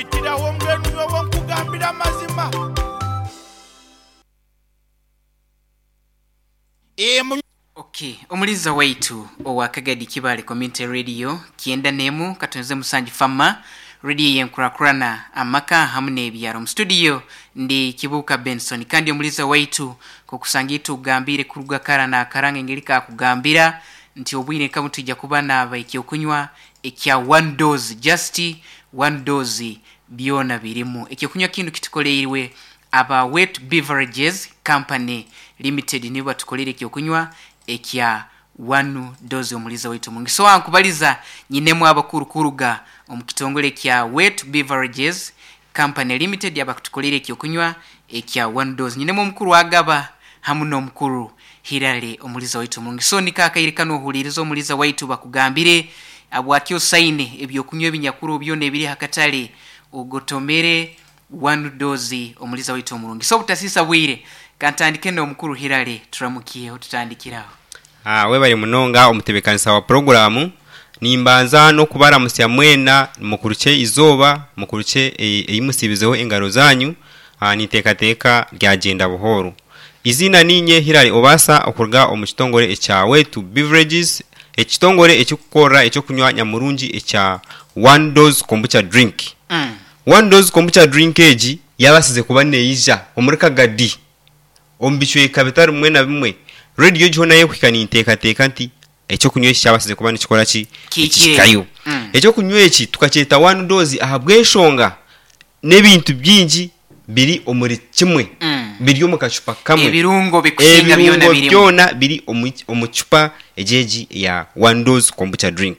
Ntandikirawo mbwenu nyowe nkugambire amazima. Ok, omuliza waitu owa Kagadi Kibaale Community Radio kyenda n'emu katonze musanju Fama Radio yenkurakurana amaka hamu n'ebyaro. Omu studio ndi Kibuuka Benson kandi omuliza waitu nkokusanga itwe ogambiire kuruga kara nakara ng'engeri kakugambira nti obwire nka bunu twija kuba naaba ekyokunywa ekya one dose just one dose byona birimu. Ekyokunywa kinu kitukoleirwe Aba Wet Beverages Company Limited nibo batukoleire ekyokunywa ekya One Dose Omuliza waitu omurungi. So ankubaliza nyinemu abakuru kuruga omu kitongole ekya Wet Beverages Company Limited abakutukoleire ekyokunywa ekya One Dose. Nyinemu omukuru Agaba hamu n'omukuru Hilary Omuliza waitu omurungi. So niko akaire kanu ohuliirize Omuliza waitu bakugambire habwaki osaine ebyokunywa ebinyakuru byona ebiri aha katale ogotomere One dose omuliza waitu omurungi. So obutasiisa bwire kantandike n'omukuru Hillary turamukyeho tutandikire aho. Webare munonga omutebekanisa wa puroguramu. Nimbanza n'okubaramutsya mwena mukurukye eizooba, mukurukye ei musiibizeho engaro zaanyu. Ninteekateeka ryagyenda buhooro. Eiziina niinye Hillary Obasa okuruga omu kitongore ekya Wetu Beverages, ekitongore ekirikukorera eky'okunywa nyamurungi ekya One Dose Kombucha Drink. One Dose Kombucha Drink egi yabaasize kuba neija omuri Kagadi omu bicweka bitari bimwe na bimwe. Rediyo egi hoona y'okuhika ninteekateeka nti eky'okunywa eki kyabaasize kuba nikikora ki? Nikihikayo. Eky'okunywa eki tukakyeta One Dose ahabw'enshonga n'ebintu bingi biri omuri kimwe, biri omu kacupa kamwe. Ebirungo bikusinga byona Ebirungo birimu. byona biri omu cupa egi egi eya One Dose Kombucha Drink.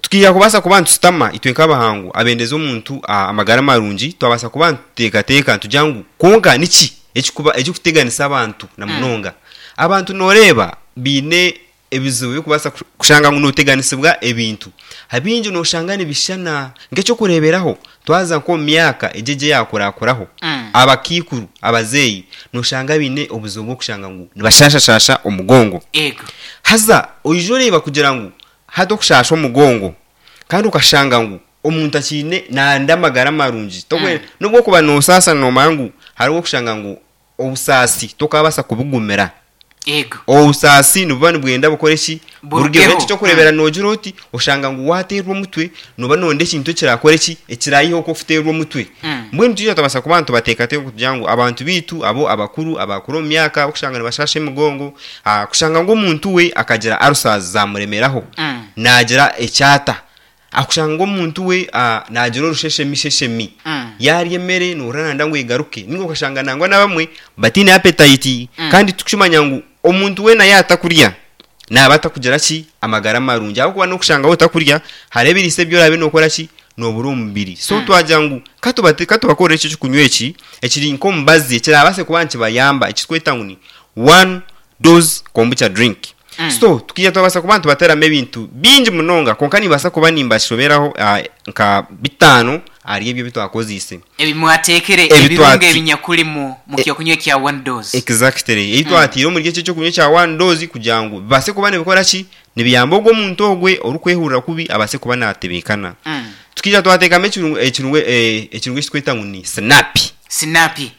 Tukaija kubaasa kuba nitushutama itwe nk'abahangu abendeza omuntu amagara marungi, twabaasa kuba nituteekateeka nitugira ngu kwonka niki ekirikuba ekirikuteganisa abantu na munonga? Abantu nooreeba baine ebizibu ebirikubaasa kushanga ngu nooteganisibwa ebintu. Abingi nooshanga nibishushana. Nk'eky'okureeberaho, twaza nk'omu myaka egi egi eyaakurakuraho, abakaikuru, abazeeyi, nooshanga baine obuzibu bw'okushanga ngu nibashaashashaasha omugongo. Haza oija oreeba kugira ngu Hati okushaasha omugongo kandi okashanga ngu omuntu akiine nayenda amagara marungi nobu okuba nosaasa nomanya ngu hariho okushanga ngu obusaasi tokabaasa kubugumira. Obusaasi nibuba nibwenda bukore ki? Burugeho. Ekyokureebera nogira oti oshanga ngu wateerwa omutwe noba noyenda ekintu ekirakore ki? Ekirayiheho oku okuteerwa omutwe. Mbwenu twija twabaasa kuba nitubateekateeka kugira ngu abantu baitu abo abakuru abakura omu myaka okushanga nibashaasha emigongo, Kushanga ngu omuntu we akagira ulcers zamuremeraho, nagira ekyata. Kushanga ngu omuntu we nagira orusheshemi sheshemi, yarya emere nohurira nayenda ngu egaruke. Ninga okashanga nangwa nabamwe bataine appetite kandi tukimanya ngu omuntu weena yaaba atakurya naaba atakugira ki? Amagara marungi. Ahabw'okuba n'okushanga waaba otakurya hariho ebiriisa ebi oraabe nookora ki? Noobura omu mubiri. So twagira ngu ka tubakorere eki eky'okunywa eki ekiri nk'omubazi ekiraabaase kuba nikibayamba ekiturikweta ngu ni One dose kombucha drink. So tukaija twabaasa kuba nitubateeramu ebintu bingi munonga kwonka nimbaasa kuba nimbashoberaho nka bitaano ahari ebyo ebi twakozeise. Ebi mwateekire, Ebi ebirungo twati- ebinyakurimu mu kyokunywa ekya One Dose. Exactly. Ebi twatiire omuri eki ekyokunywa ekya One Dose kugira ngu bibaase kuba nibikora ki? Nibiyamba ogwo omuntu ogwe orikwehurira kubi abaase kuba naatebeekana. Tukaija twateekamu ekirungo ekirungo ekirungo eki turikweta ngu ni sinapi. Sinapi.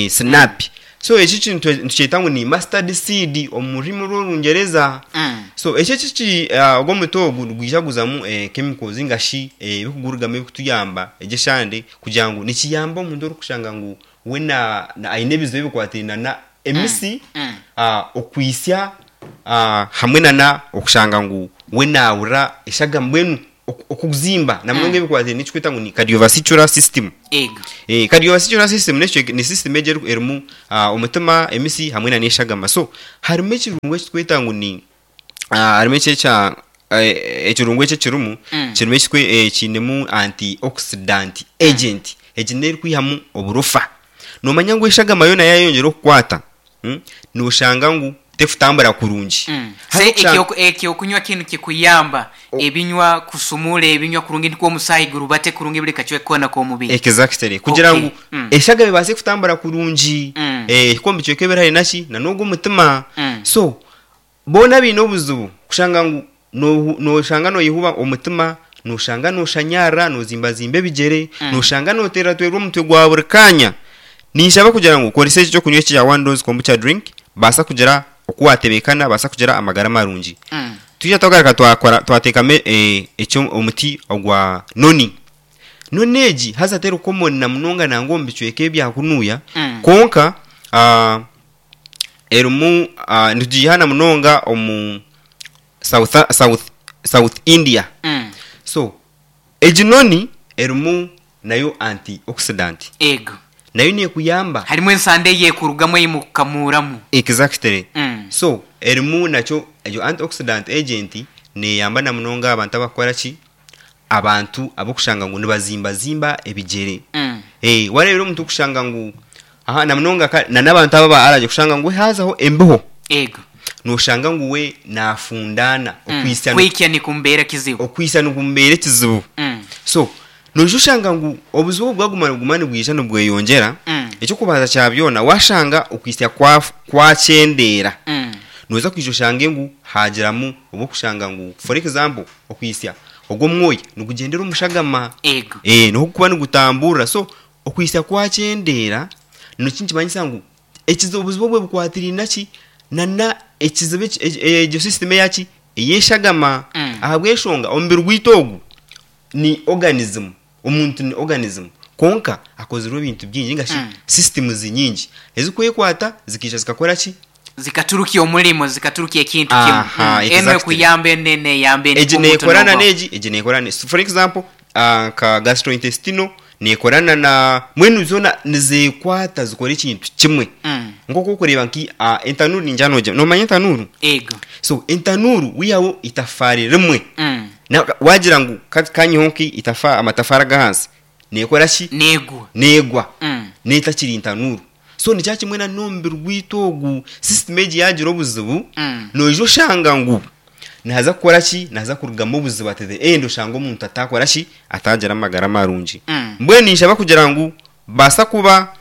Sinapi. So eki ekintu nitukyeta ngu ni mustard seed omu rurimi rw'orungyereza. So eki eki ogu omuti ogu nigwija guzamu chemicals ninga shi ebirikugurugamu ebirikutuyamba egyo eshande kugira ngu nikiyamba omuntu orikushanga ngu we aine ebizibu ebikwatiraine na emisi, okwitsya hamwe nana okushanga ngu we naahurira eshagama mbwenu okuzimba na munonga ebikwatiraine n'ekirikwetwa ngu ni cardiovascular system. Ego. Cardiovascular system n'ekicweka ni system egyo erimu omutima, emisi hamwe nana eshagama. So harimu ekirungo ekirikwetwa ngu ni harimu eki ekya ekirungo eki ekirimu kirimu ekikwe kiinemu anti oxidant agent egi n'erikwihamu oburofa. Noomanya ngu eshagama yoona yaayeyongyera okukwata Noshanga ngu tekutambura kurungi. Se ekyokunywa kinu kikuyamba ebinywa kusumuura ebinywa kurungi nikwo omusaayi gurubate kurungi buri kacweka koona k'omubiri. Exactly. Kugira ngu eshagama ebaase kutambura kurungi ehike omu bicweka ebiri haihi naki na n'ogu omutima. So boona abaine obuzibu kushanga ngu noshanga noyehuba omutima. Noshanga noshanyarara, nozimbazimba ebigyere, noshanga noteeratweerwa omutwe gwa buri kaanya. Ninshaba kugira ngu okorese eki ekyokunywa eki ekya One Dose Kombucha Drink, baasa kugira oku watebeekana, baasa kugira amagara marungi. Twija twagaruka twakora twateekamu ekyo omuti ogwa noni. Noni egi haza teri common na munonga nangwa omu bicweka ebya kunuya, kwonka erimu nitugiiha na munonga omu South South South India. So egi noni erimu nayo antioxidant. Ego. Nayo nekuyamba. Harimu ensanda eyekurugamu ei mukukamuuramu. Exactly. So erimu nakyo egyo antioxidant agent neyamba na munonga abantu abakukora ki? Abantu abokushanga ngu nibazimbazimba ebigyere. Wareebera omuntu okushanga ngu aha na munonga ka na n'abantu aba aba allergy kushanga ngu haazaho embeho. Ego. Noshanga ngu we nafundaana okwitsya Kwikya nikumubeera kizibu. okwitsya nikumubeera ekizibu. So noija oshanga ngu obuzibu obu bwaguma nibuguma nibwija nibweyongyera, eky'okubanza kya byona washanga okwitsya kwa kwakyendeera, noija kwija oshange ngu haagiramu obw'okushanga ngu for example okwitsya ogw'omwoya nigugyendera omu shagama. Ego. Niho gurikuba nigutamburira so Okwitsya kwakyendeera nikyo nikimanyisa ngu ekizibu obuzibu obwe bukwatiraine ki nana ekizibu eki egyo system eyaki ey'eshagama ahabw'enshonga omubiri gwaitu ogu ni organism omuntu ni organism kwonka akozirwe ebintu bingi ninga shi systems nyingi ezikwekwata zikaija zikakora ki Zikaturukya omurimo, zikaturukya ekintu kimwe. Aha, Enu exactly. ekuyamba enu enu neyamba endi Egi omuntu nekorana nobaho. n'egi, egi nekorana n'egi. For example, nka gastrointestinal nekorana na mbwenu zoona nizekwata zikora ekintu kimwe. Nk'oku orikureeba nka entanuuru ningira nogi nomanya entanuuru? Ego. So entanuuru wihaho itafaari rimwe, na wagira ngu kanyiheho nka amatafaari ag'ahansi, Neekora ki? Neegwa. Neegwa. Neetakiri ntanuuru. So nikyo kimwe na n'omubiri gwaitu ogu, system egi yaagira obuzibu, noija oshanga ngu nihaza kukora ki? Nihaza kurugamu obuzibu at the end oshange omuntu ataakora ki? Ataagira amagara marungi. Mbwenu ninshaba kugira ngu baasa kuba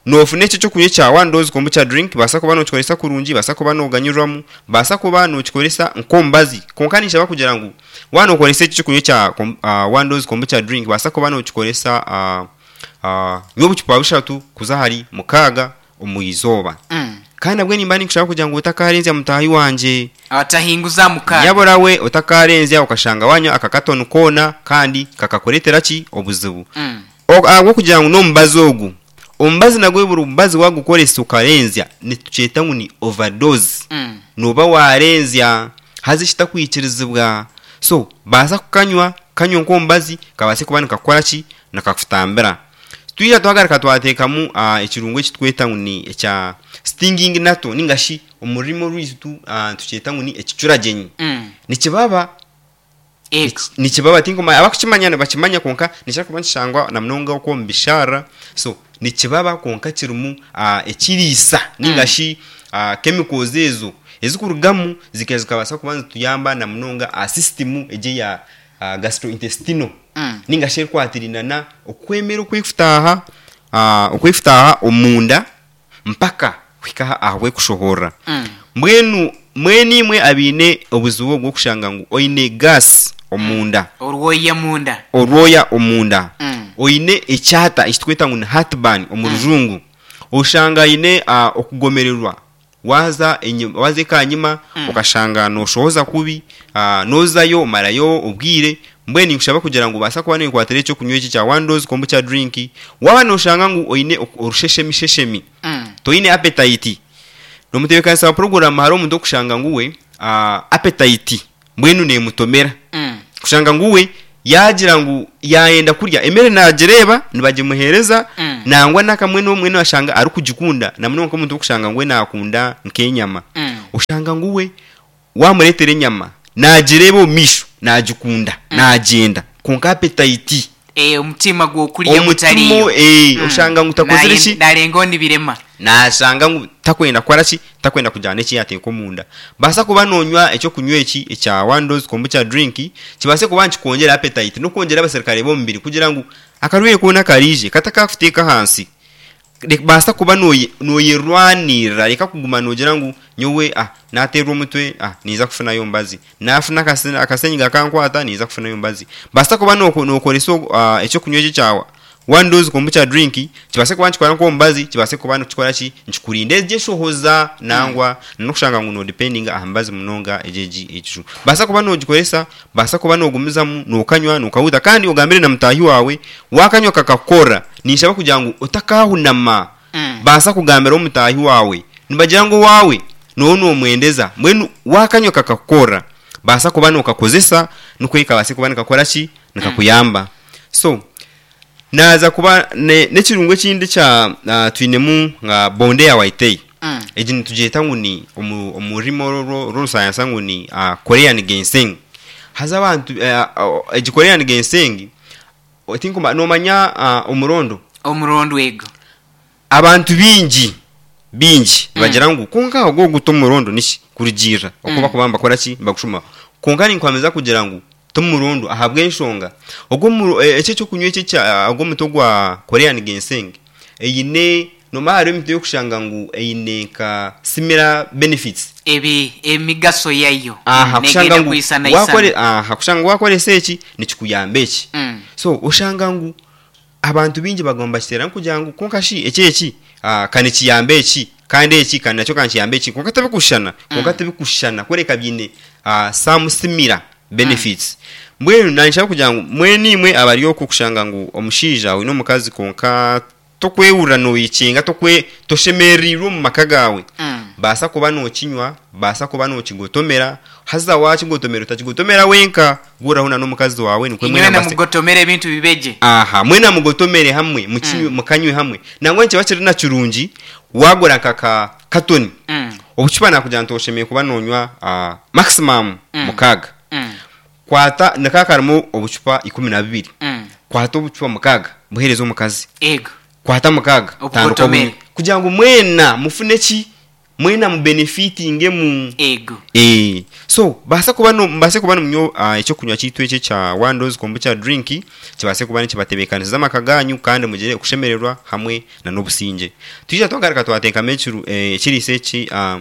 Noofuna eki eky'okunywa ekya One Dose Kombucha Drink, baasa kuba nookikoresa kurungi, baasa kuba nooganyirwamu, baasa kuba nookikoresa nk'omubazi. Kwonka ninshaba kugira ngu waaba nookoresa eki eky'okunywa ekya One Dose Kombucha Drink, baasa kuba nookikoresa nywa obucupa bushatu kuza ahari mukaaga omu izooba. Kandi nabwe nimba ninkushaba kugira ngu otakaarenzya mutaahi wangye. Otahinguza mukaaga. Nyabura we otakaarenzya okashanga waanywa aka katoni koona kandi kakakureetera ki? Obuzibu. Ahabw'okugira ngu n'omubazi ogu, omubazi nagwo buri mubazi waagukoresa okarenzya nitukyeta ngu ni overdose. Nooba waarenzya haza ekitakwikirizibwa. So baasa kukanywa, kanywe nk'omubazi kabaase kuba nikakukora ki? Nikakutambira. Twija twagaruka twateekamu ekirungo eki turikweta ngu ni ekya stinging nettle ninga shi omu rurimi orwaitu nitukyeta ngu ni ekicuragyenyi. Nikibaba. Ego. Nikibaba tinkumanya abakukimanya nibakimanya kwonka nikikira kuba nikishangwa na munonga okwo omu bisharara so nikibaba kwonka kirimu ekiriisa ninga shi chemicals ezo ezikurugamu zikaija zikabaasa kuba nizituyamba na munonga aha system egi eya gastrointestinal ninga shi erikwatiraine na okwemera okwekutaaha okwekutaaha omunda mpaka kuhika aha bw'ekushohorora. Mbwenu mwena imwe abaine obuzibu obw'okushanga ngu oine gaasi omunda, Orwoya munda. orwoya omunda, oine ekyata eki turikweta ngu ni heartburn omu rujungu, oshanga aine okugomererwa waaza enyima waaza ekanyima okashanga nooshohoza kubi, noozayo omarayo obwire, Mbwenu ninkushaba kugira ngu obaasa kuba nekwatira ekyokunywa eki ekya one dose kombucha drink waaba noshanga ngu oine orusheshemisheshemi, toine appetite. Nomutebekanisa wa puroguramu hariho omuntu okushanga ngu we appetite mbwenu nemutomera. Kushanga ngu we yagira ngu yayenda kurya emere nagireeba nibagimuhereza nangwa nakamwe nomwe noshanga arikugikunda namunonga nkomuntu okushanga ngu we nakunda nkenyama. Oshanga ngu we Waamureetera enyama, naagireeba omu maisho, naagikunda, naagyenda. Kwonka apetaiti. Eh, omutima gw'okurya Omutima, gutariyo. eh, oshanga ngu takozire ki? Naarengaho nibirema. Naashanga ngu takwenda kukora ki? Takwenda kugira n'eki yaateeka omunda. Baasa kuba noonywa eky'okunywa eki ekya One Dose Kombucha Drink, kibaase kuba nikikwongyera apetaiti n'okwongyera abaserukare b'omubiri kugira ngu akarwaire koona karaije katakakuteeka ahansi. Baasa kuba nooyerwanirira, reka kuguma noogira ngu nyowe naateerwa omutwe ninza kufunayo omubazi, naafuna akasenyiga kankwata ninza kufunayo omubazi. Baasa kuba nookoresa eky'okunywa eki ekya one dose kombucha drink, kibaase kuba nikikora nk'omubazi, kibaase kuba nikikora ki, nikikurinda egyo eshohoza nangwa n'okushanga ngu noodipendinga aha mibazi munonga egyo egi ekiju. Baasa kuba noogikoresa, baasa kuba noogumizamu nookanywa nookahuuta kandi ogambire na mutaahi waawe, waakanywa kakakukora, Ninshaba kugira ngu otakaahunama. Baasa kugambira omutaahi waawe. Nibagira ngu owaawe nooba noomwendeza. Mbwenu waakanywa kakakukorera, baasa kuba nookakozesa nikwo kabaase kuba nikakora ki? Nikakuyamba. So, naaza kuba n'ekirungo ekindi ekya twinemu nka bonde ya Waitei. Egi nitugyeta ngu ni omu omu rurimi rw'orusayansa ngu ni Korean ginseng. Haza abantu egi Korean ginseng Tinkumanya, noomanya omurondo? Omurondo ego. Abantu baingi, baingi nibagira ngu kwonka ogwo ogu t'omurondo niki? Kurugiirira oku barikuba nibakora ki? Nibagushuma. Kwonka ninkuhamiza kugira ngu t'omurondo ahabw'enshonga ogwo omu eki eky'okunywa eki ekya ogwo omuti ogwa Korean ginseng eine, noomanya hariho emiti ey'okushanga ngu eine nka similar benefits. Ebi emigaso yayo Aha, kushanga negenda ngu kwisanaisana. wakore aha, kushanga ngu wakoresa eki nikikuyamba eki. So oshanga ngu abantu baingi baguma nibakiteeramu kugira ngu kwonka shi eki eki ka nikiyamba eki kandi eki kandi nakyo ka nikiyamba eki kwonka tibikushushana, kwonka tibikushushana kureka biine some similar benefits. Mbwenu naanye kugira ngu mbwenu imwe abari okwo kushanga ngu omushaija oine omukazi kwonka Tokwehurira noyekyenga, tokwe, toshemereirwe omu maka gaawe. Baasa kuba nokinywa, baasa kuba nokigotomera, haza wakigotomera otakigotomera wenka, gurraho na n'omukazi waawe nikwo Inywena mwena mubase. mugotomere ebintu bibe gye. Aha, mwena mugotomere hamwe, mukinywe, mukanywe hamwe. Nangwa nikiba kiri na kirungi wagura nka ka katoni, obucupa nakugira nti oshemereire kuba nonywa maximum mukaaga. Kwata nikaba karimu obucupa 12. Kwata obucupa mukaaga buheereze omukazi. Ego. Kwata mukaaga tandika Obugotomere. obunywe. Kugira ngu mwena mufune ki? Mwena mubenefitingemu. Ego. Eh, so baasa kuba no mubaase kuba nimunywa ah, ekyokunywa kyaitu eki ekya One Dose Kombucha Drink kibaase kuba nikibatebeekanisiza amaka gaanyu kandi mugire okushemererwa hamwe na n'obusingye. Twija twagaruka twateekamu ekiru eh, ekiriisa eki ah,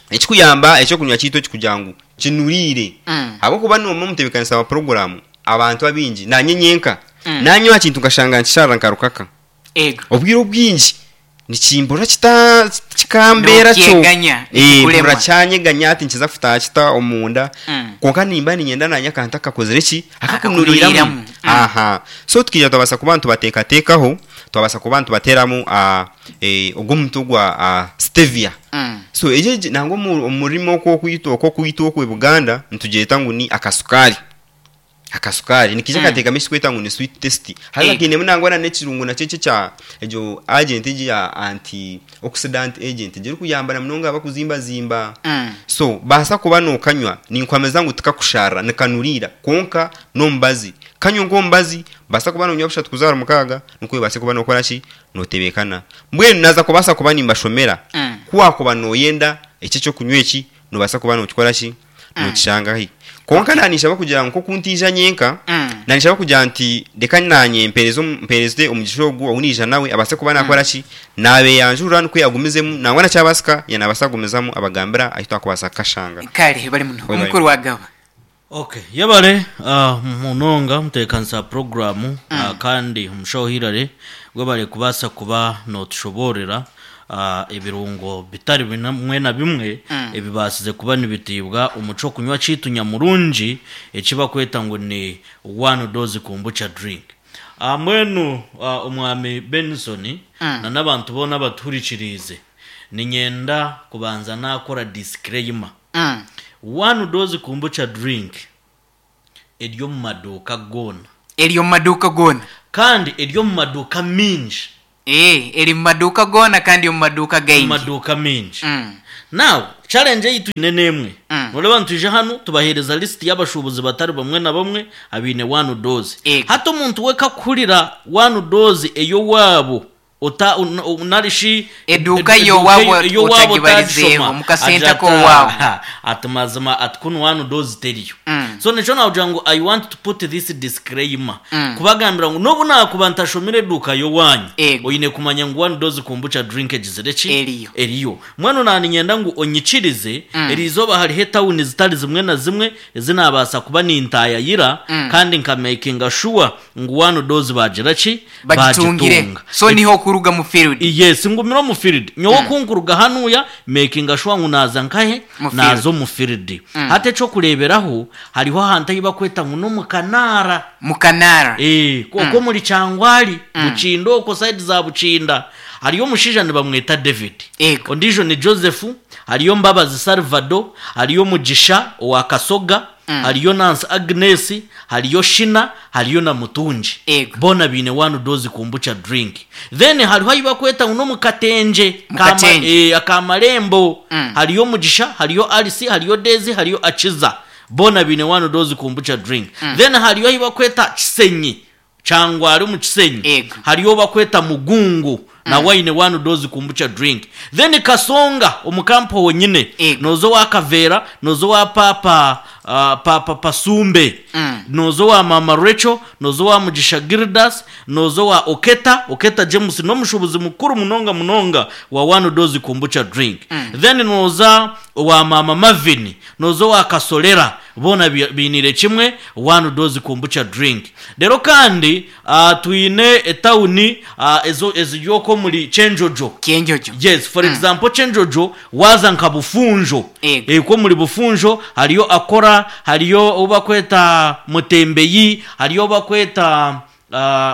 Ekikuyamba ekyokunywa kyaitu eki kugira ngu kinuriire ahabw'okuba noomanya omutebeekanisa wa puroguraamu abantu abaingi naanye nyenka naanywa aha kintu nkashanga nikisharira nka rukaka Ego. obwire obwingi nikimpurira kita kikambeera kyo Nookyeganya, nikikurema. mpurira kyanyeganya hati nikiza kutaaha kita omunda kwonka nimba niinyenda naanye akantu akakozire ki akakunuriiramu Akakunuriiramu. aha so tukaija twabaasa kuba nitubateekateekaho twabaasa kuba nitubateeramu ogwo omuti ogwa stevia. So egyo egi nangwa omu omu rurimi oku okwitwa oku okwitwa okwe Buganda nitugyeta ngu ni akasukaari. Akasukaari nikaija kateekamu ekiturikweta ngu ni sweet taste. Haza Ego. kainemu nangwa na n'ekirungo nakyo eki ekya egyo agent egi ya anti oxidant agent egyo erikuyamba na munonga abakuzimbazimba. So baasa kuba nookanywa ninkuhamiza ngu tikakusharira nikanuriira kwonka n'omubazi. Kanywe nk'omubazi, baasa kuba noonywa bushatu kuza ahari mukaaga nikwo obaase kuba nookora ki? Notebeekana. Mbwenu naaza kubaasa kuba nimbashomera, ku waakuba nooyenda eki eky'okunywa eki, noobaasa kuba nookikora ki? Nookishanga hi. Kwonka naanye ninshaba kugira ngu nk'oku ntaija nyenka, naanye ninshaba kugira nti reka naanye mpeereze mpeereze omugisha ogu ou naija nawe abaase kuba naakora ki? Naabeeyanjurira nikwo agumizemu, nangwa na kyabaasika yaaba naabaasa kugumizamu abagambira ahu twakubaasa kukashanga. Kare bari muno. Webale. Omukuru wa Gaba. Ok yebare munonga mutebekanisa wa puroguramu kandi omushaho Hillary webare kubaasa kuba notushoboorera ebirungo bitari bimwe na bimwe ebibaasize kuba nibitiibwa omu ky'okunywa kyaitu nyamurungi eki bakweta ngu ni one dose kombucha drink. Mbwenu omwami Benson na n'abantu boona abatuhurikiriize niinyenda kubanza naakora disclaimer. One dose kombucha drink eri omu maduuka goona. Eri omu maduuka goona. Kandi eri omu maduuka maingi. Ee, eri mu maduuka goona kandi omu maduuka Omu gaingi. maduuka maingi. Now, challenge ei twine n'emwe. Noreeba nitwija hanu tubaheereza list y'abashuubuzi batari bamwe na bamwe abaine one dose. Ego. Hati omuntu we kakuhurira one dose ey'owaabo ota nari shi Eduuka eduuka y'owaabo ey'owaabo otagibarizeeho, otagishoma omu kasente agira ati ak'owaabo. aha ati mazima ati kunu one dose teriyo. So nikyo naakugira ngu I want to put this disclaimer kubagambira ngu n'obu naakuba ntashomire eduuka y'owaanyu, Ego. oine kumanya ngu one dose kombucha drink egizire ki? Eriyo. Eriyo. Mbwenu naaniinyenda ngu onyikirize, eriizooba hariho etawuni zitari zimwe na zimwe ezi naabaasa kuba nintaayayira kandi nkamekinga shuwa ngu one dose baagira ki? Bagitungire. Baagitunga. So niho okuruga mu field. Yes, ngumire omu field. Nyowe ku nkuruga hanuya, mekinga shuwa ngu naaza nkahe? Mu field. Naaza omu field. Hati eky'okureeberaho, hariho ahantu ahi bakweta ngu n'omu Kanaara. Mu Kanaara. Eh, okwo omuri Kyangwali, Bukinda okwo side za Bukinda, hariyo omushaija nibamweta David. Ego. Ondiijo ni Joseph, hariyo Mbabazi Salvado, hariyo Mugisha owa Kasoga, hariyo Nancy Agnes, hariyo Shina, hariyo na Mutungi. Ego. Boona baine one dose kombucha drink. Then hariho ahi bakweta ngu n'omu Katenje, Mu Katenje. aka Marembo. Hariyo Mugisha, hariyo Alice, hariyo Daisy, hariyo Akiza. Boona baine one dose kombucha drink. Then hariyo ahi bakweta Kisenyi, Kyangwari omu Kisenyi. Ego. Hariyo bakweta Mugungu, nawe aine one dose kombucha drink. Then Kasonga omu kampo honyine, Ego. noza owa Kaveera, noza owa Paapa Paapa Pasumbe, noza owa Maama Rachel, noza owa Mugisha Gildas, noza owa Oketa, Oketa James n'omushuubuzi mukuru munonga munonga wa one dose kombucha drink. Then noza owa Maama Marvin, noza owa Kasolera, boona bainiire kimwe one dose kombucha drink. Reero kandi twine etawuni ezo eziri okwo omuri Kyenjojo. Kyenjojo. Yes, for example Kyenjojo waaza nka Bufunjo. Ego. Okwo omuri Bufunjo hariyo Akora, hariyo ou bakweta Mutembeyi, hariyo ou bakweta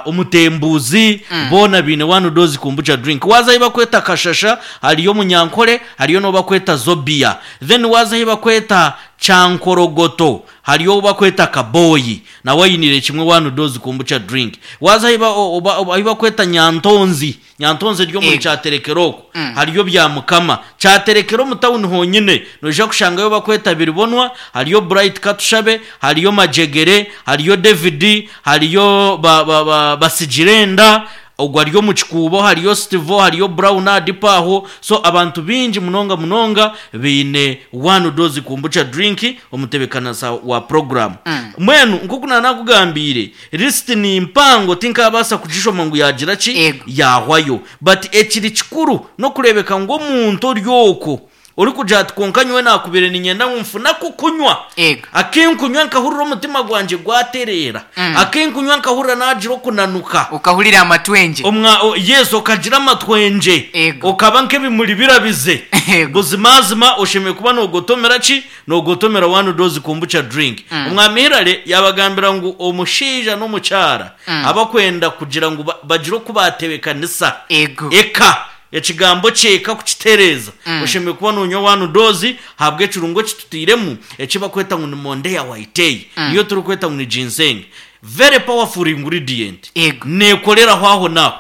Omutembuuzi, boona baine one dose kombucha drink. Waaza ahi bakweta Kashasha hariyo Omunyankore, hariyo n'ou bakweta Zobia. Then waaza ahi bakweta Kyankorogoto hariyo ou bakweta Kaboyi, nawe ainiire kimwe one dose kombucha drink. Waaza ahi ba- o- o- ahi bakweta Nyantonzi, Nyantonzi eri omuri Ego. Kyaterekero okwo, hariyo Byamukama. Kyaterekero omu tawuni honyine noija kushangayo bakweta Biribonwa, hariyo Bright Katushabe, hariyo Majegere, hariyo David, hariyo ba, ba, ba, Basigirenda, ogwo ari omu Kikuubo, hariyo Stivo, hariyo Brown Adipo aho. So abantu baingi munonga munonga baine one dose kombucha drink omutebeekanisa wa puroguramu. Mbwenu nk'oku naanakugambiire, lisiti ni mpango tinkaabaasa kugishoma ngu yaagira ki, Ego. yaahwayo. But ekiri kikuru n'okureebeka ngu omuntu ori okwo orikugira ati kwonka nyowe naakubaire niinyenda ngu nfune ak'okunywa, Ego. akinkunywa nkahurira omutima gwangye gwatereera, akinkunywa nkahurira naagira okunanuka. Okahurira amatwengye. Omwa, o, yes, okagira amatwengye. Ego. Okaba nk'ebimuri birabize. Ego. Buzimazima oshemereire kuba noogotomera ki? Noogotomera one dose kombucha drink. Omwami Hillary yaabagambira ngu omushaija n'omukyara abakwenda kugira ngu bagire oku baatebeekanisa Ego. eka, ekigambo ky'eka kukitereeza, oshemereire kuba noonywa one dose ahabw'ekirungo eki tutairemu eki barikweta ngu ni Mondeya Waitei, niyo turikweta ngu ni ginseng. Very powerful ingredient. Ego. Neekoreraho aho n'aho.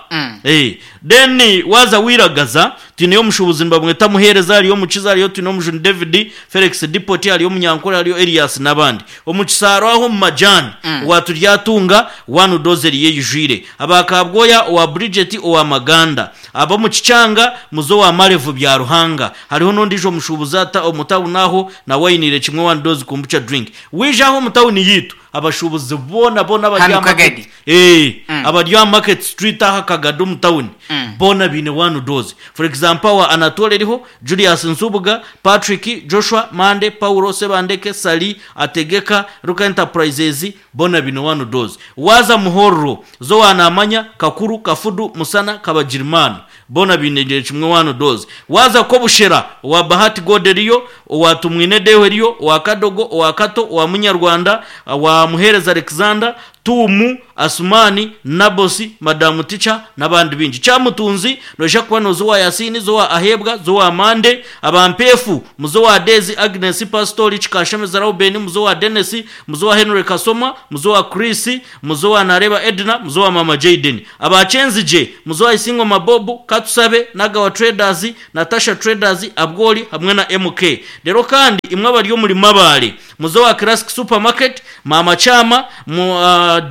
Then waaza wairagaza, twineyo omushuubuzi nibamweta Muheereza, hariyo Mukiza, hariyo twine Omujuni David, Felix Dipoti, hariyo Omunyankore, hariyo Elias n'abandi. Omu Kisaaro aho omu Majani, owa Turyatunga, one dose eriyo eijwire. Aba Kabwoya, owa Bridget, owa Maganda. Ab'omu Kikyanga, muze owa Marevu Byaruhanga. Hariho n'ondiijo mushuubuzi ata omu tawuni aho, nawe ainiire kimwe one dose kombucha drink. Waija aha omu tawuni yaitu, abashuubuzi boona boona abari Hanu aha market, Kagadi. eh, abari aha market street aha Kagadi omu tawuni, boona baine one dose. For example, owa Anatole eriho, Julius Nsubuga, Patrick, Joshua, Mande, Paulo, Sebandeke, Sally, Ategeka, Ruka Enterprises, boona baine one dose. Waaza Muhorro, Zoa Namanya, Kakuru, Kafudu, Musana, Kabagirimana, boona baine kimwe one dose. Waaza Kobushera, owa Bahati God eriyo, owa Tumwine Deo eriyo, owa Kadogo, owa Kato, owa Munyarwanda, owa Muheereza Alexander, Tuumu, Asumani, Nabosi, Madamu Ticha n'abandi baingi. Kyamutunzi, noija kuba nooza owa Yasini, zowa Aheebwa, zowa Mande, aba Mpeefu, muze owa Dezi, Agnes, Pasitori, Kikashemeza Reuben, muze owa Dennis, muze owa Henry Kasoma, muze owa Chris, muze owa Nareba Edna, muze owa Mama Jayden. Aba Kyenzigye, muze owa Isingoma Bob, Katusabe, Nagawa Traders, Natasha Traders, Abwoli hamwe na MK. Reero kandi imwe abari omuri Mabare, muze owa Classic Supermarket, Mama Chama,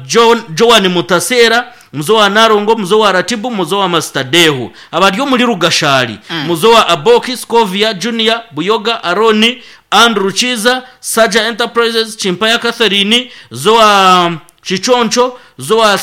John, Joan Mutasera, muzo wa Narongo, muzo wa Ratibu, muzo wa Master Dehu. Abari omuri Rugashari, muzo wa Aboki, Scovia, Junior, Buyoga, Aroni, Andrew Kiiza, Saja Enterprises, Kimpaya Catherine, Zoa Kiconco, Zoa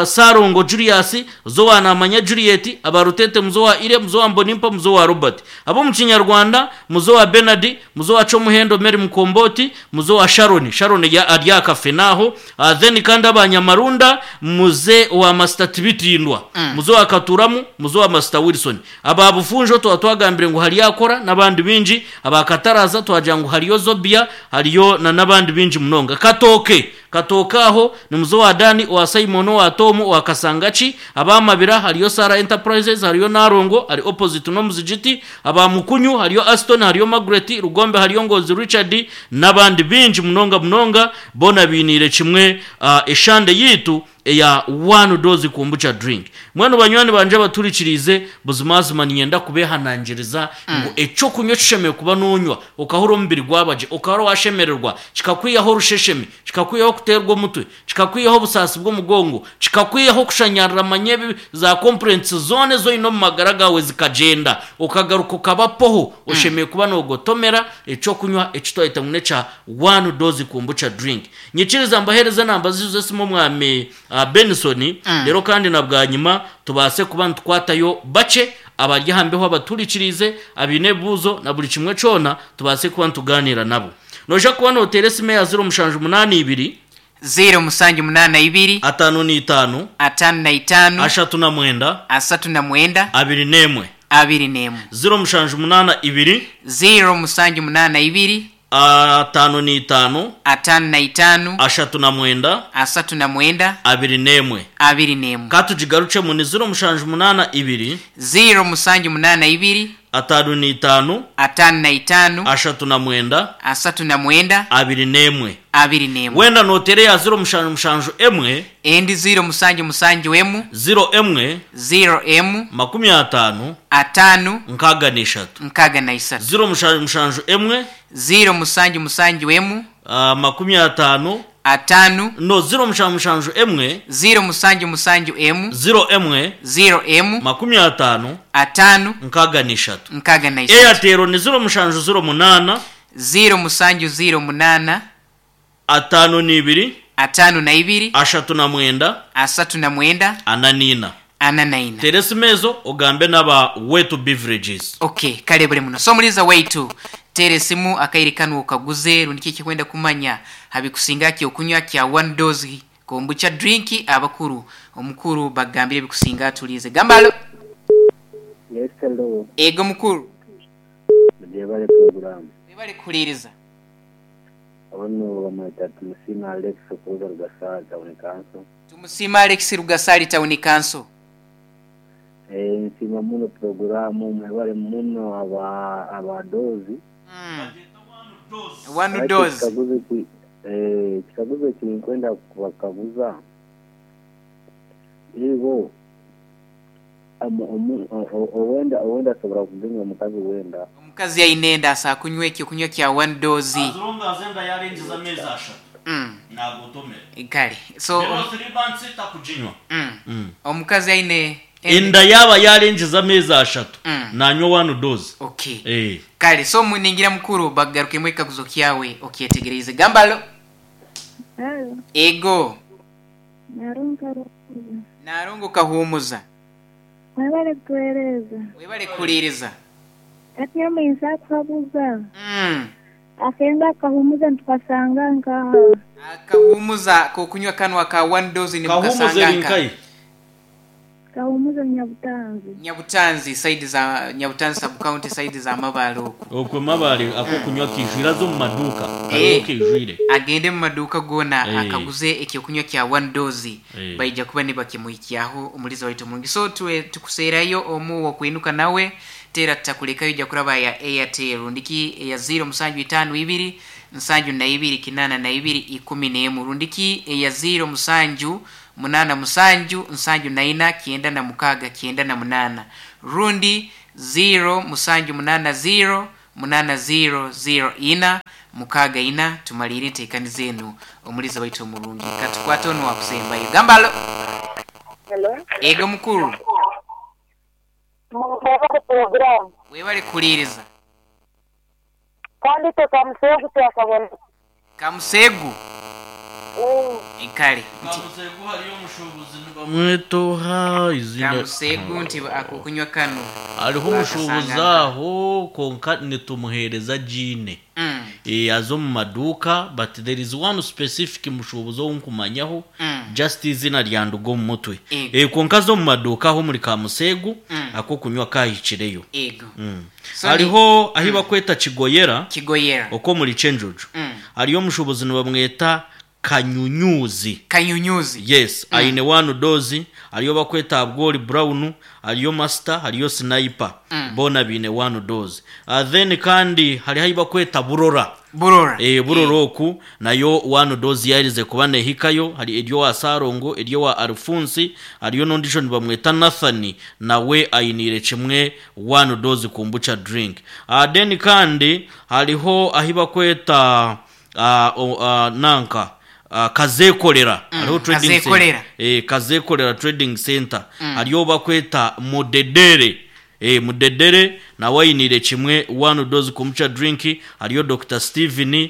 Sarongo Julius, Zoa Namanya Juliet, Abarutete Muzoa Ire, Muzoa Mbonimpa, Muzoa Robert. Abo mu Kinyarwanda, Muzoa Bernard, Muzoa Chomuhendo Mary Mukomboti, Muzoa Sharon, Sharon ya arya kafe naho, then kandi abanyamarunda muze wa Master Tibitindwa, Muzoa Katuramu, Muzoa Master Wilson. Aba bufunjo tuba twagambire ngu hariyo akora n'abandi bingi, abakataraza twagira ngu hariyo Zobia, hariyo na n'abandi bingi munonga. Katoke, Katoke aho ni muzo wa Dani, wa Simon, wa Tom, wa Kasangachi, abamabira hariyo Sara Enterprises, hariyo Narongo, hari opposite no muzigiti, abamukunyu hariyo Aston, hariyo Margaret, Rugombe hariyo Ngozi Richard n'abandi bingi munonga munonga bona binire kimwe eshande yitu eya one dose kombucha drink. Mwenu banywani banje baturikirize buzimazima ninyenda kubehanangiriza ngu ekyo kunywa kishemeye kuba nonywa okahura omubiri gwabaje okahura washemererwa kikakwihaho orusheshemi kikakwihaho kuterwa omutwe kikakwihaho obusaasi bw'omugongo kikakwihaho kushanyarira manye za complaints zone zoine omu magara gawe zikagenda okagaruka okaba poho oshemeye kuba nogotomera ekyo kunywa ekitwayita ngu nekya one dose kombucha drink. Nyikiriza mbahereze namba zizo zesimu omwami Benson rero kandi na bwanyuma tubase kuba nitukwatayo bace abari hambeho abaturikirize abine buzo na buri kimwe cona tubase kuba nituganira nabo. Noja kuba notere esime ya 0782 0782 55 55 39 39 21 21 0782 0782 55 55 39 39 21 21 katugigarucemu ni 0782 0782 55 55 39 39 21 21 wenda notere ya 077 emwe endi 077 emu 0 emwe 0 emu 50 5 63 63 077 emwe 077 emu 50 5 no 077 emwe 077 emu 0 emwe 0 emu 50 5 63 63 Airtel ni 0708 0708 52 52 39 39 44 44 teresi mezo ogambe n'aba wetu beverages. Okay, kale buli muno so muliza waitu tere simu akairikanu okaguze rundi kiki kwenda kumanya habikusinga ki okunywa kya one dose kombucha drink abakuru omukuru bagambire bikusinga atulize gambalo. Yes, hello. Ego mukuru Jebale program. webale kuliriza Ono bamwita Tumusima Alex okuruga Rugasari Town Council. Tumusima Alex Rugasari Town Council. Nsima muno programu mwebale muno abadozi. One dose. Kikaguzo kinkwenda kubakaguza. Ibo owenda asobora kuginywa omukazi wenda. Omukazi yainenda asa kunywa ekyo kunywa kya one dose. Azonga azenda yarengiza amezi 3. Nagotomera. Kale. So Rero 3 months takuginywa. Omukazi aine enda yaba yarengiza amezi 3 nanywa one dose. Okay. Kale so muningira mukuru bagarukemo ekaguzo kyawe okyetegereze. Gambalo. Hello. Ego. Narongo Narongo kahumuza. Webale kutuhereza. Webale kuliriza. Ati omuinza kuhabuza. Akenda akahumuza ntukasanga nkaha. Akahumuza kokunywa kanwa ka one dose ni mukasanga nkaha. Kahumuza Nyabutanzi. Nyabutanzi side za Nyabutanzi sub county side za Mabale oku. Okwe Mabale akokunywa kijwira zo mu maduka. Kariyo kijwire. Agende mu maduka gona akaguze ekyo kunywa kya one dose. Baija kuba nibakimuhikyaho omuliza waitu mulungi. So tuwe tukuseerayo omu wakwinuka nawe tera tutakulekayo ija kuraba ya Airtel rundiki ya 0752 72 82 11 rundiki ya 07 8 7 74 98 rundi 0 7 8 0 8 0 0 4 6 tumalire enteekani zenu omuliza waitu omulungi katukwate ono wakusembayo gambalo. Hello. Ego mukuru webale kuliriza. Kandi itwe Kamuseegu twakabona. Kamuseegu? Kale. Nti. Kamuseegu hariyo omushuubuzi nibamweta oha eiziina. Kamuseegu nti akokunywa kanu. Hariho omushuubuzi aho kwonka nitumuheereza agiine. Eh, aza omu maduuka but there is one specific mushuubuzi ou nkumanyaho just eiziina ryanduga omu mutwe. Ego. Eh, kwonka aza omu maduuka aho omuri Kamuseegu akokunywa kahikireyo. Ego. So ni Hariho ahi bakweta Kigoyera Kigoyera. okw'omuri Kyenjojo. Hariyo omushuubuzi nibamweta Kanyunyuzi. Kanyunyuzi. Yes, aine one dose, hariyo bakweta Abwori Brown, hariyo Master, hariyo Sniper. Boona baine one dose. Then kandi hariho ahi bakweta Burora. Burora. Eh, Burora oku nayo one dose yaherize kuba nehikayo, hari eryo wa Sarongo, eryo wa Alphonse, hariyo n'ondijo nibamweta Nathan, nawe ainiire kimwe one dose kombucha drink. Then kandi hariho ahi bakweta nanka Kazeekorera, hariho trading center. Kazeekorera. Eh, Kazeekorera trading center. Hariyo bakweta Mudedere. Eh, Mudedere nawe ainiire kimwe one dose kombucha drink, hariyo Dr. Steven,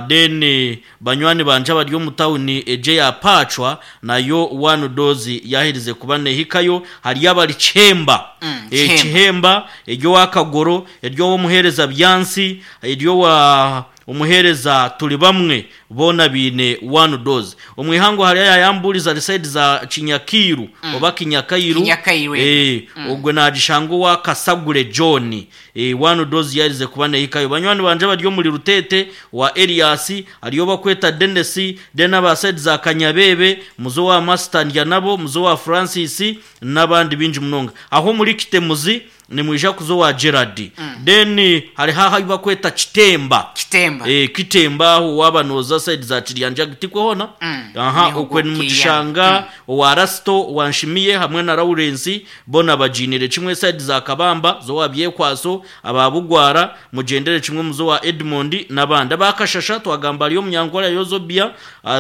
then banywani bangye abari omu tawuni egyo eya Pacwa nayo one dose yaherize kuba nehikayo, hariyo abari Kihemba. Eh, Kihemba. Kihemba, eryo owa Kagoro, eryo ow'omuheereza Byansi, eryo owa omuheereza turi bamwe boona baine one dose. Omu ihangwe hariyo ayayambuuriza ari side za Kinyakairu oba Kinyakairu. Kinyakairu, Eh, ogwe naagishanga owa Kasagure John. Eh, one dose yaherize kuba nehikayo. Banywani bangye abari omuri Rutete owa Elias, hariyo obakweta Denis, then aba side za Kanyabebe, muze owa Master Ndyanabo, muze owa Francis n'abandi baingi munonga. Aho omuri Kitemuzi nimwija kuza owa Gerard. Then hariho ahu bakweta Kitemba. Kitemba. Eh, Kitemba aho waaba nooza side za Kiryanjaga tikwe hoona? Aha, Niho okwe gwo nimugishanga owa Rasto, owa Nshimiye hamwe na Lawrence boona bagiinire kimwe side za Kabamba z'owa Byekwaso, aba Bugwara mugyendere kimwe muze owa Edmond n'abandi. Aba Kashasha twagamba hariyo Omunyankore hariyo Zobia,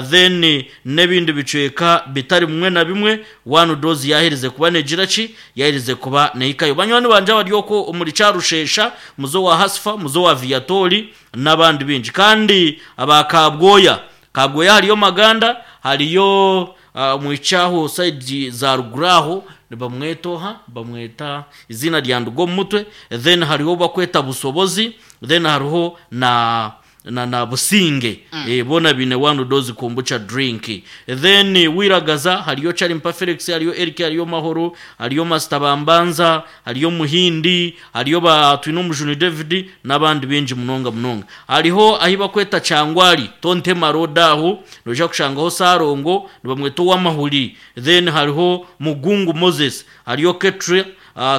then n'ebindi bicweka bitari bimwe na bimwe one dose yaherize kuba negira ki? Yaherize kuba nehikayo. Banywani bangye abari okwo omuri Kyarushesha muze owa Hasfa, muze owa Viatori n'abandi baingi. Kandi aba Kabwoya, Kabwoya hariyo Maganda, hariyo omwishiki aho side za ruguru aho nibamweta oha? Nibamweta eiziina ryanduga omu mutwe, then hariho ou bakweta Busobozi, then hariho na na na Businge. Eh, boona baine one dose kombucha drink. Then Wiragaza hariyo Charimpa Felix, hariyo Eric, hariyo Mahoro, hariyo Master Bambanza, hariyo Muhindi, hariyo ba Twinomujuni David n'abandi baingi munonga munonga. Hariho ahi bakweta Kyangwari, Tontema Road aho, noija kushangaho Sarongo, nibamweta Owamahuri. Then hariho Mugungu Moses, hariyo Ketra,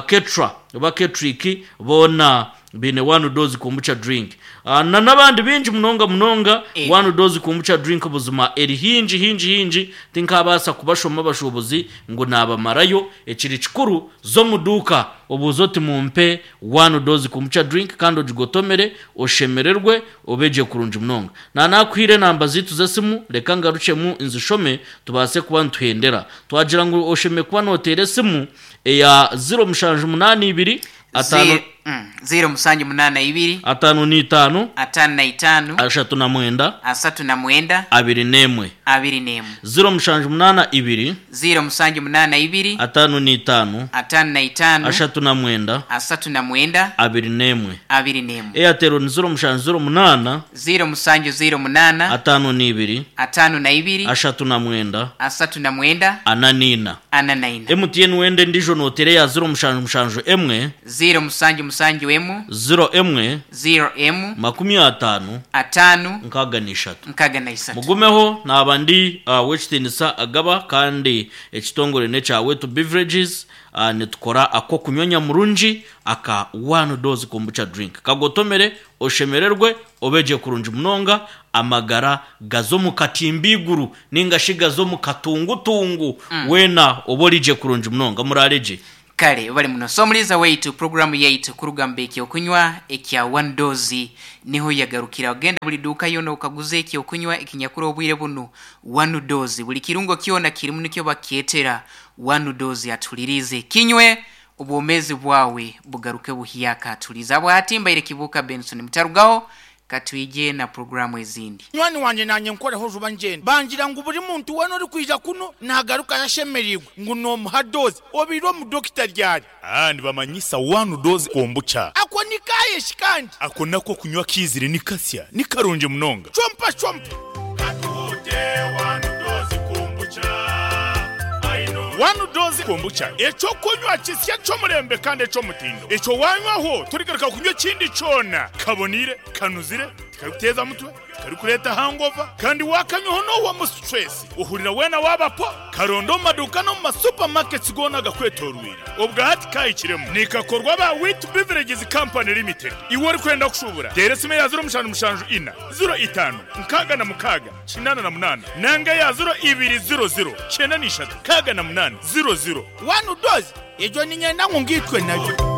Ketra oba Ketrick, boona baine one dose kombucha drink. Na n'abandi baingi munonga munonga one dose kombucha drink buzima eri hingi hingi hingi, tinkabaasa kubashoma abashuubuzi ngu naabamarayo. Ekiri kikuru za omu duuka obuuze oti mumpe one dose kombucha drink kandi ogigotomere oshemererwe obe gye kurungi munonga. Na nakuhaire enamba zaitu z'esimu reka ngarukyemu nzishome tubaase kuba nituhendera. Twagira ngu oshemereire kuba nooteera esimu eya ziro mushanju munaana ibiri ataano 0782 55 55 39 39 21. 21. 0782 0782 55 55 39 39 21. 21. Airtel ni 0708 0708 52 52 39 39 44. 44. MTN wenda endiijo nooteera eya 0771 0771 01 0M 50 5 63. 63. Mugumeho naaba ndi ow'ekitiinisa Agaba kandi ekitongore n'ekya Wetu Beverages nitukora ak'okunywa nyamurungi aka one dose kombucha drink. Kagotomere oshemererwe obe gye kurungi munonga amagara gaze omu katimba eiguru ninga shi gaze omu katungutungu weena obe ori gye kurungi munonga muraare gye. Kale bali muno. So omuliza waitu programu yaitu kurugamba ekyokunywa ekya one dose niho yagarukira. Ogenda buli duka yona okaguza ekyokunywa ekinyakura obwire bunu one dose. Buli kirungo kyona kirimu nikyo bakyetera one dose atulirize. Kinywe obwomezi bwawe bugaruke buhyaka. Tuliza bwati mbaire Kibuuka Benson mutarugaho. Katwije na puroguraamu ezindi. Munywani wangye naanye nkoreho juba ngyende. Bangira ngu buri muntu weena orikwija kunu naagarukayo ashemereirwe ngu noomuha doozi. Obaire omu dokita ryari? Aa nibamanyisa one dose kombucha. Ako ni kaaye shi kandi? Ako nako kunywa kiizire ni kasya, ni karungi munonga. Chompa chompa. Katuhute one dose kombucha. One dose kombucha, eky'okunywa kisya ky'omurembe kandi eky'omutindo. Ekyo wanywaho torigaruka kunywa ekindi kyona. Kaboniire, kanuzire, tikarikuteeza mutwe, tikarikureeta hangover, kandi waakanywaho noohwamu stress, ohurira weena waaba po. Karonde omu maduuka n'omu ma supermarkets goona agakwetooroire. Obwa hati kaahikiremu. Nikakorwa aba Wheat Beverages Company Limited. Iwe orikwenda kushuubura, teera esimu eya ziro mushanju mushanju ina, ziro itaano, nkaaga na mukaaga, 88 nanga eya 0200 93 08 00. One dose, egyo niinyenda ngu ngaitwe nayo.